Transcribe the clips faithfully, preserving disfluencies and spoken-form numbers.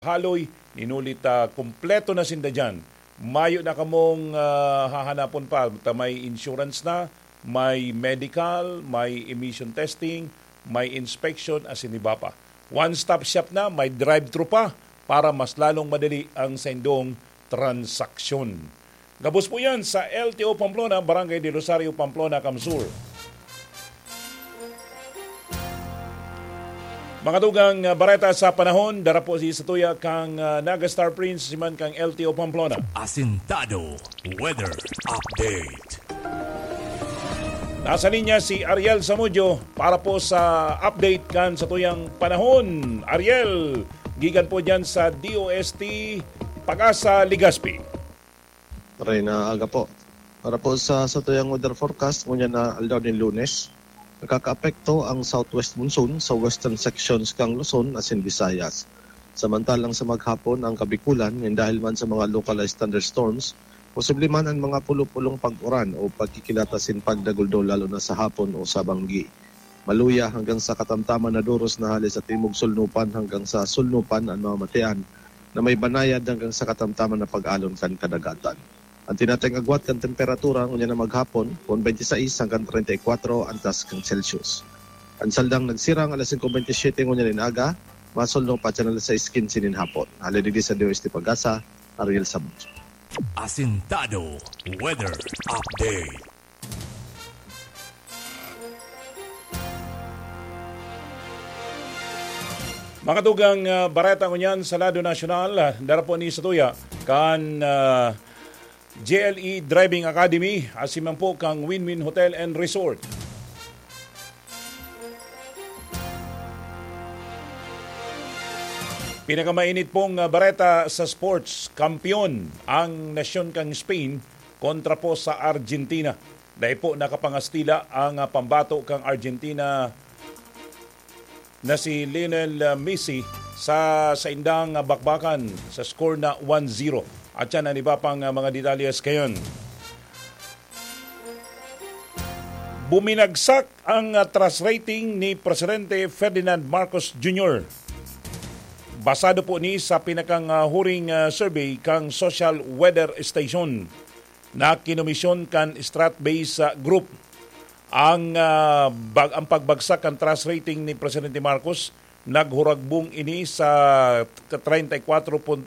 Haloy, ninuli ta kompleto na sinda diyan. Mayo na kamong, ah, hahanapon pa. Ta may insurance na, may medical, may emission testing, may inspection, asin iba pa. One-stop shop na, may drive-thru pa para mas lalong madali ang saindong transaksyon. Gabos po yan sa L T O Pamplona, Barangay de Rosario, Pamplona, Camsur. Mga tugang, ah, bareta sa panahon, dara po si Satuya kang, ah, Naga Star Prince, siman kang L T O Pamplona. Asintado Weather Update. Nasa linya si Ariel Samudio para po sa update kan satuyang panahon. Ariel, gikan po dyan sa D O S T Pag-asa, Legazpi. Maray na aga po. Para po sa satuyang weather forecast, ngunyan na aldaw nin Lunes, nakakaapekto ang southwest monsoon sa western sections kan Luzon asin Visayas. Samantalang sa maghapon, ang Kabikulan, nin dahil man sa mga localized thunderstorms, posible man ang mga pulo-pulong pag-uran o pagkikilat asin pagdaguldol, lalo na sa hapon o sa banggi. Maluya hanggang sa katamtaman na doros na hale sa timog sulnupan hanggang sa sulnupan an mga matian na may banayad hanggang sa katamtaman na pag-alon kan kadagatan. An tinatayong agwat kan temperatura ngunyan na maghapon, kun twenty-six hanggang treinta y cuatro an taas kan Celsius. An saldang nagsirang alas singko bentisiete ngunyan nin aga, masulnop pa siya alas sais kinse nin hapon. Hale digdi sa D O S T Pag-asa, Ariel Samudio. Asintado Weather Update. Mga tugang, ah, bareta ngunyan sa lado nasyonal, ah, dara po ni satuya kan, ah, J L E Driving Academy, asin man po kang Win-Win Hotel and Resort. Pinakamainit pong, ah, bareta sa sports, kampeon ang nasyon kang Spain kontra po sa Argentina. Dai po nakapangastila ang, ah, pambato kang Argentina na si Lionel, ah, Messi sa saindang, ah, bakbakan sa score na one zero. At yan ang iba pang, ah, mga detalyes kayon. Buminagsak ang, ah, trust rating ni Presidente Ferdinand Marcos Junior. Basado po ni sa pinakang, ah, huring, ah, survey kang Social Weather Station na kinomisyon kan Stratbase, ah, Group. Ang, ah, bag-, ang pagbagsak kan trust rating ni Presidente Marcos, naghuragbong ini sa treinta y cuatro por-,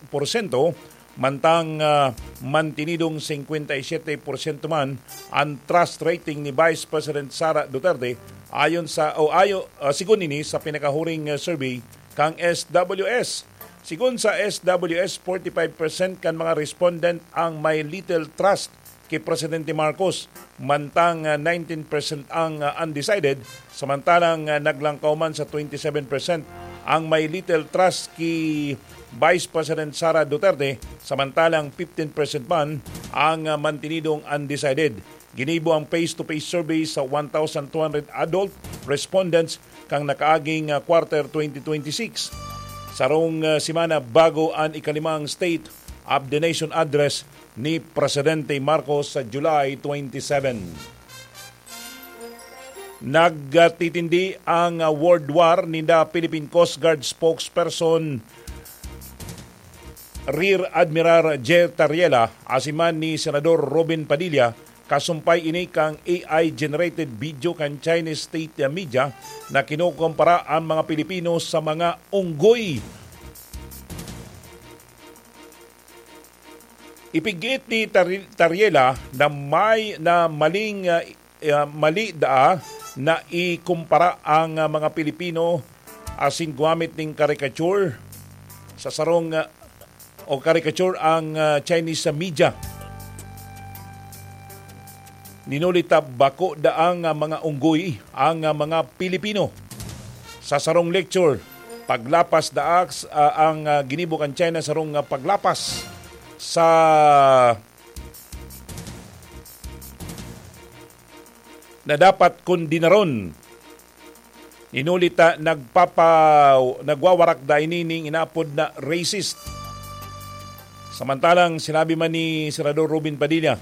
porsyento, mantang, ah, mantinidong cincuenta y siete por ciento man ang trust rating ni Vice President Sara Duterte, ayon sa, o ayo, ah, sigon ini sa pinakahuring, ah, survey kang S W S. Sigon sa S W S, forty-five percent kan mga respondent ang may little trust ki Presidente Marcos, mantang, ah, nineteen percent ang, ah, undecided, samantalang, ah, naglangkaw man sa twenty-seven percent ang may little trust ki Vice President Sara Duterte, samantalang fifteen percent man ang, ah, mantinidong undecided. Ginibo ang face-to-face survey sa one thousand two hundred adult respondents kan nakaaging, ah, quarter twenty twenty-six. Sarong, ah, semana bago an ikalimang State of the Nation Address ni Presidente Marcos sa July twenty-seven. Nagtitindi ang, ah, World War ninda Philippine Coast Guard spokesperson Rear Admiral J. Tariela, asin man ni Senador Robin Padilla, kasumpay ini kan A I-generated video kan Chinese state media na kinukumpara ang mga Pilipino sa mga unggoy. Ipigit ni Tari-, Tariela na may, na maling, ah, ah, mali daa na ikumpara ang, ah, mga Pilipino asin gumamit ning caricature sa sarong, ah, o caricature ang, ah, Chinese sa media. Ninuli ta bako daang, ah, mga unggoy ang, ah, mga Pilipino. Sa sarong lecture, paglapas daak, ah, ang, ah, ginibo kan China, sarong, ah, paglapas sa na dapat kondenaron. Hinuli ta nagpapa-, nagwawarak da ini ning inaapod na racist. Samantalang sinabi man ni Senador Robin Padilla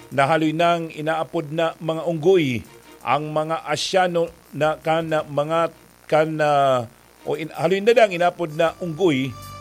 na haloy nang inaapod na mga unggoy ang mga Asyano na kan mga, kan, ah, o in-, haloy na lang inaapod na unggoy